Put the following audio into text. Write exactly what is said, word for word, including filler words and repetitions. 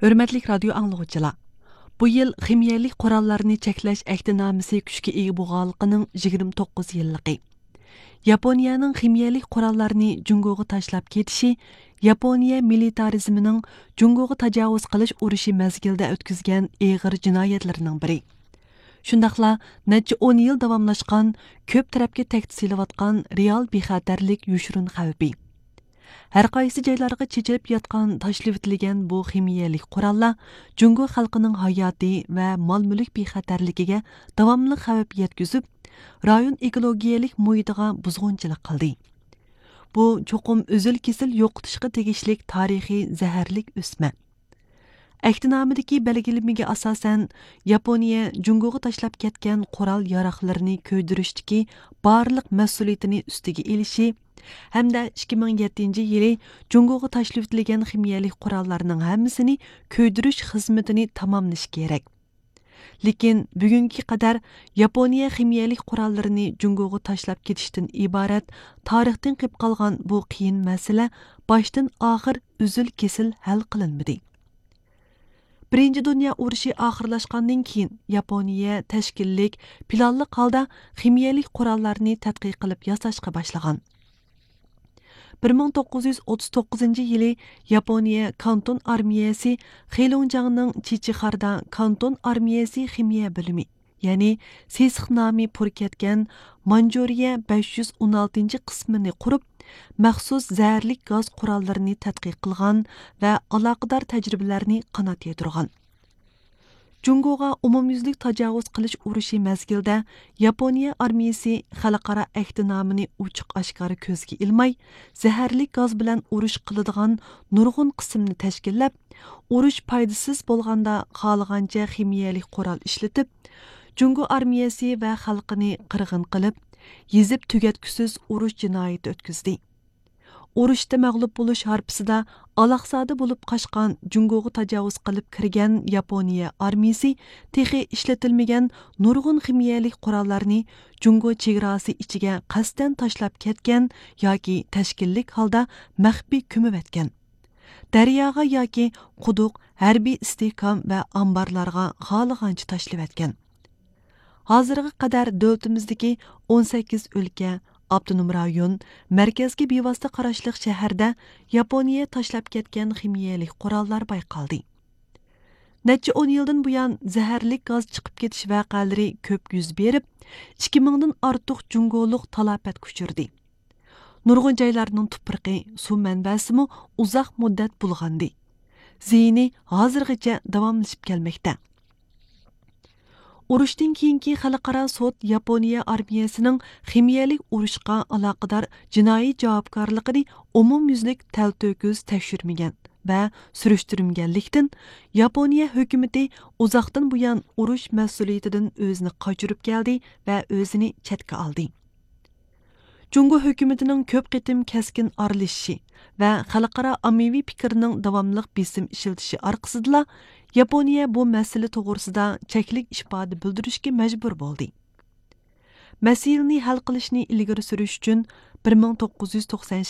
ھۆرمەتلىك رادىيو ئاڭلىغۇچىلار، بۇ يىل خىمىيەلىك قوراللارنى چەكلەش ئەھدىنامىسى كۈچكە ئىگە بولغانلىقىنىڭ يىگىرمە توققۇز يىللىقى. ياپونىيەنىڭ خىمىيەلىك قوراللارنى جۇڭگوغا تاشلاپ كېتىشى ياپونىيە مىلىتارىزمىنىڭ جۇڭگوغا تاجاۋۇز قىلىش ئۇرۇشى مەزگىلىدە ئۆتكۈزگەن ئېغىر جىنايەتلىرىنىڭ بىرى. شۇنداقلا نەچچە ئون يىل داۋاملاشقان، كۆپ تەرەپكە تەھدىت سېلىۋاتقان رېئال بىخەتەرلىك يوشۇرۇن خەۋپى. ھەر قايسى جايلارغا چېچىلىپ ياتقان تاشلىۋېتىلگەن بۇ خىمىيەلىك قوراللار جۇڭگو خەلقىنىڭ ھاياتى ۋە مال-مۈلۈك بىخەتەرلىكىگە داۋاملىق خەۋپ يەتكۈزۈپ، رايون ئېكولوگىيەلىك مۇھىتىغا بۇزغۇنچىلىق قىلدى. بۇ چوقۇم ئۈزۈل-كېسىل يوقىتىشقا تېگىشلىك تارىخىي زەھەرلىك ئۆسمە. ئەھدىنامىدىكى بەلگىلىمىگە ئاساسەن، ياپونىيە جۇڭگوغا تاشلاپ كەتكەن قورال ياراغلىرىنى كۆيدۈرۈشتىكى بارلىق مەسئۇلىيىتىنى ئۈستىگە ئېلىشى ھەمدە ئىككى مىڭ يەتتىنچى يىلى جۇڭگوغا تاشلىۋېتىلگەن خىمىيەلىك قوراللارنىڭ ھەممىسىنى كۆيدۈرۈش خىزمىتىنى تاماملىشى كېرەك. لېكىن بۈگۈنگە قەدەر ياپونىيە خىمىيەلىك قوراللىرىنى جۇڭگوغا تاشلاپ كېتىشتىن ئىبارەت تارىختىن قېلىپ قالغان بۇ قىيىن مەسىلە باشتىن ئاخىر ئۈزۈل-كېسىل ھەل قىلىنمىدى. بىرىنچى دۇنيا ئۇرۇشى ئاخىرلاشقاندىن كېيىن، ياپونىيە تەشكىللىك، پىلانلىق ھالدا خىمىيەلىك قوراللارنى تەتقىق قىلىپ ياساشقا باشلىغان. بىر مىڭ توققۇز يۈز ئوتتۇز توققۇزىنچى يىلى ياپونىيە كانتون ئارمىيەسى خېلۇڭجياڭنىڭ چىچىخاردا كانتون ئارمىيەسى خىمىيە بۆلۈمى، يەنى سېسىق نامى پۇر كەتكەن مانجۇرىيە بەش يۈز ئون ئالتىنچى قىسمىنى قۇرۇپ، مەخسۇس زەھەرلىك گاز قوراللىرىنى تەتقىق قىلغان ۋە ئالاقىدار تەجرىبىلەرنى قانات يايدۇرغان. جۇڭگوغا ئومۇميۈزلۈك تاجاۋۇز قىلىش ئۇرۇشى مەزگىلىدە ياپونىيە ئارمىيىسى خەلقئارا ئەھدىنامىنى ئوچۇق-ئاشكارا كۆزگە ئىلماي، زەھەرلىك گاز بىلەن ئۇرۇش قىلىدىغان نۇرغۇن قىسىمنى تەشكىللەپ، ئۇرۇش پايدىسىز بولغاندا خالىغانچە خىمىيەلىك قورال ئىشلىتىپ، جۇڭگو ئارمىيەسى ۋە خەلقىنى قىرغىن قىلىپ، يېزىپ تۈگەتكۈسىز ئۇرۇش جىنايىتى ئۆتكۈزدى. ئۇرۇشتا مەغلۇپ بولۇش ھارپىسىدا ئالاقزادە بولۇپ قاچقان، جۇڭگوغا تاجاۋۇز قىلىپ كىرگەن ياپونىيە ئارمىيىسى تېخى ئىشلىتىلمىگەن نۇرغۇن خىمىيەلىك قوراللارنى جۇڭگو چېگراسى ئىچىگە قەستەن تاشلاپ كەتكەن ياكى تەشكىللىك ھالدا مەخپىي كۆمۈۋەتكەن. دەرياغا ياكى قۇدۇق، ھەربىي ئىستىھكام ۋە ئامبارلارغا خالىغانچە تاشلىۋەتكەن. ھازىرغا قەدەر دۆلىتىمىزدىكى ئون سەككىز ئۆلكە، ئاپتونوم رايون، مەركەزگە بىۋاسىتە قاراشلىق شەھەردە ياپونىيە تاشلاپ كەتكەن خىمىيەلىك قوراللار بايقالدى. نەچچە ئون يىلدىن بۇيان، زەھەرلىك گاز چىقىپ كېتىش ۋەقەلىرى كۆپ يۈز بېرىپ، ئىككى مىڭدىن ئارتۇق جۇڭگولۇق تالاپەتكە ئۇچرىدى. نۇرغۇن جايلارنىڭ تۇپرىقى، سۇ مەنبەسىمۇ ئۇزاق مۇددەت بۇلغاندى. زىيىنى ھازىرغىچە داۋاملىشىپ كەلمەكتە. ئۇرۇشتىن كېيىنكى خەلقئارا سوت ياپونىيە ئارمىيەسىنىڭ خىمىيەلىك ئۇرۇشقا ئالاقىدار جىنايى جاۋابكارلىقىنى ئومۇميۈزلۈك تەلتۆكۈس تەكشۈرمىگەن ۋە سۈرۈشتۈرمىگەنلىكتىن، ياپونىيە ھۆكۈمىتى ئۇزاقتىن بۇيان ئۇرۇش مەسئۇلىيىتىدىن ئۆزىنى قاچۇرۇپ كەلدى ۋە ئۆزىنى چەتكە ئالدى. جۇڭگو ھۆكۈمىتىنىڭ كۆپ قېتىم كەسكىن ئارىلىشىشى ۋە خەلقئارا ئاممىۋى پىكىرنىڭ داۋاملىق بېسىم ئىشلىتىشى ئارقىسىدىلا، ياپونىيە بۇ مەسىلە توغرىسىدا چەكلىك ئىپادە بىلدۈرۈشكە مەجبۇر بولدى. مەسىلىنى ھەل قىلىشنى ئىلگىرى سۈرۈش ئۈچۈن، بىر مىڭ توققۇز يۈز توقسان